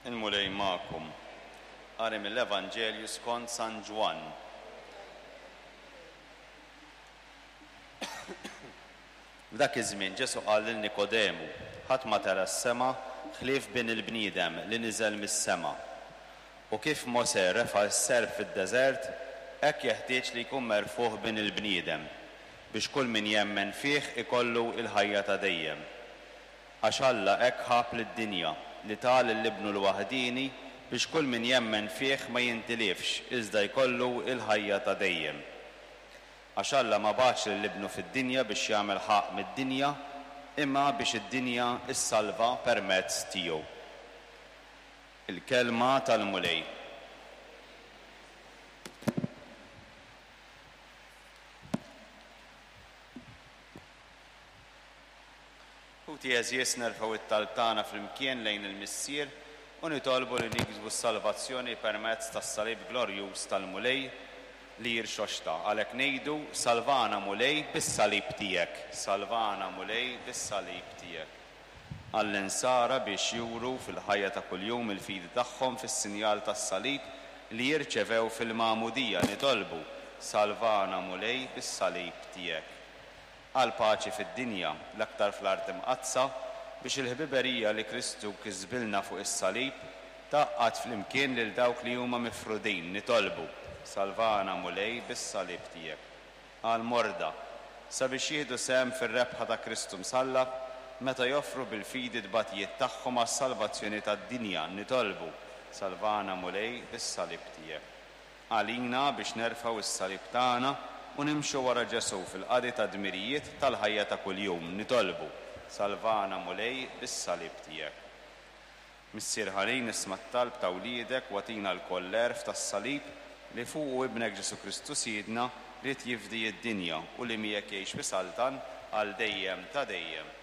Il-Mulej magħkom. Qari mill-Evanġelju skont San Ġwann. F'dak iż-żmien Ġesù qal lil Nikodemu, Ħadd ma tela' s-sema ħlief Bin il-bniedem li niżel mis-sema. U kif Mosè refa' s-serp fid-deżert, hekk jeħtieġ li jkun merfugħ Bin il-bniedem, biex kull min jemmen fih ikollu l-ħajja ta' dejjem. Għax Alla hekk ħabb lid-dinja, li ta lil Ibnu l-waħdieni biex kull min jemmen fih ma jintilifx iżda jkollu l-ħajja ta' dejjem. Għax Alla ma bagħatx lil Ibnu fid-dinja biex jagħmel ħaqq mid-dinja, imma biex id-dinja ssalva permezz tiegħu. Il-Kelma tal-Mulej. Ħuti għeżież nerfgħu t-talb tagħna flimkien lejn il-Missier u nitolbu li niksbu s-salvazzjoni permezz tas-Salib glorjuż tal-Mulej li jirxoxta. Għalhekk ngħidu, Salvana Mulej bis-Salib tiegħek. Salvana Mulej bis-Salib tiegħek. Għall-insara biex juru fil-ħajja ta' kuljum il-fidi tagħhom fis-sinjal tas-Salib li jirċevew fil-Magħmudija, nitolbu, Salvana Mulej bis-Salib tiegħek. Għall-paċi fid-dinja, l-aktar fl-Art Imqaddsa, biex il-ħbiberija li Kristu kisbilna fuq is-salib tgħaqqad flimkien lil dawk li huma mifrudin, nitolbu, Salvana, Mulej, bis-salib tiegħek. Għall-morda, sabiex jieħdu sehem fir-rebħa ta' Kristu msallab, meta joffru bil-fidi t-tbatijiet tagħhom għas-salvazzjoni tad-dinja, nitolbu, Salvana, Mulej, bis-salib tiegħek. Għalina biex nerfgħu s-salib tagħna u nimxu wara Ġesù fil-qadi tad-dmirijiet tal-ħajja ta' kuljum, nitolbu, Salvana, Mulej, bis-salib tiegħek. Missier ħanin, isma' t-talb ta' wliedek u agħtina lkoll l-għerf tas-salib li fuqu Ibnek Ġesù Kristu Sidna ried jifdi d-dinja u li miegħek jgħix u jsaltan għal dejjem ta' dejjem.